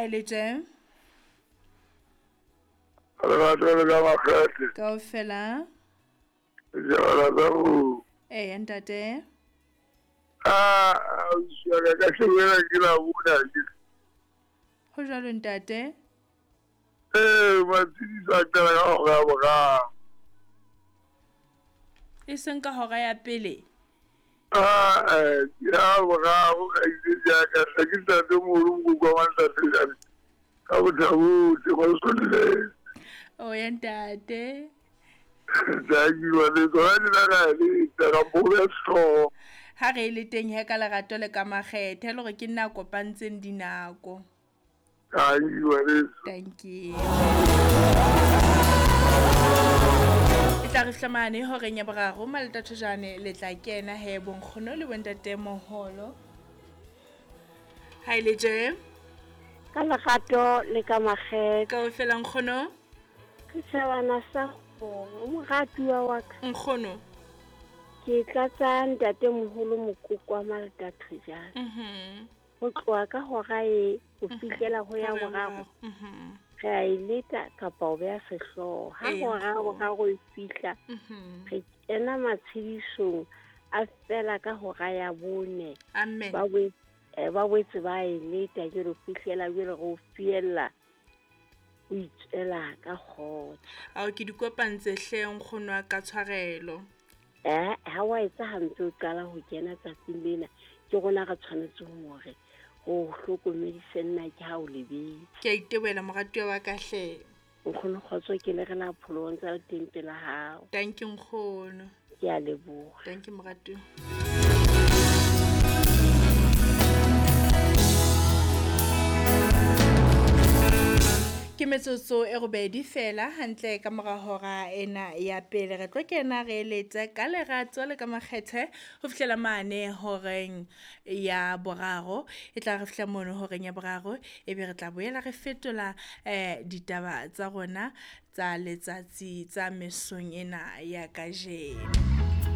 Ha e le tje? Lerato le ka makgethe. Kaofela. Jala tsa go. Eya ntate. Ah, ausi wa ka ka shebela ke la bona ke. Ho jwalo ntate. Ee, matshediso a qala ka hora ya boraro. E seng ka hora ya pele. Ah, eh, ke ya boraro kgaitsedi ya ka hle ke ntate moholo mokoko wa ntate jale. Ka bothabotle ngwaneso. O ya ntate. Thank you, ngwaneso. Hona tjena ra leta ka mpo ya sehlooho. Ha re le teng he ka lerato le ka makgethe le hore ke nna a kopantseng dinako. Thank you, ngwaneso. Thank you. E tla re fihla horeng ya boraro maletathojane le tla kena he bonkgono le bontate moholo. Ha e le tje? Ka lerato le ka makgethe. Kaofela nkgono. Ke tjhabana sa kgomo, moratuwa wa ka. Nkgono. Ke tlatsa ntate moholo mokoko wa maletathojane. Ho tloha ka hora e ho fihlela ho ya boraro. Re a e leta kapa o beha sehlooho. Ha hora ya boraro e fihla, re kena matshedisong a fela ka hora ya bone. Amen. Ba boetse ba e leta jwale ho fihlela jwale re o fiella o itswela ka kgotso. Ao ke di kopantse hle nkgono wa ka tshwarelo. Ha wa etsa hampe o qala ho kena tsatsing lena, ke rona re tshwanetse hore ho hlokomedise nna ke ha o lebetse. Ke a itebohela moratuwa wa ka hle. Nkgono kgotso ke le re la pholo ntse le teng pela hao. Thank you nkgono. Ke a leboha. Thank you moratuwa. Ke metsotso e robedi fela hantle ka mora hora ena ya pele re tlo kena re eletse ka lerato le ka makgethe ho fihlela mane horeng ya boraro. E tla re fihla mono horeng ya boraro ebe re tla boela re fetola ditaba tsa rona tsa letsatsi tsa mesong ena ya kajeno.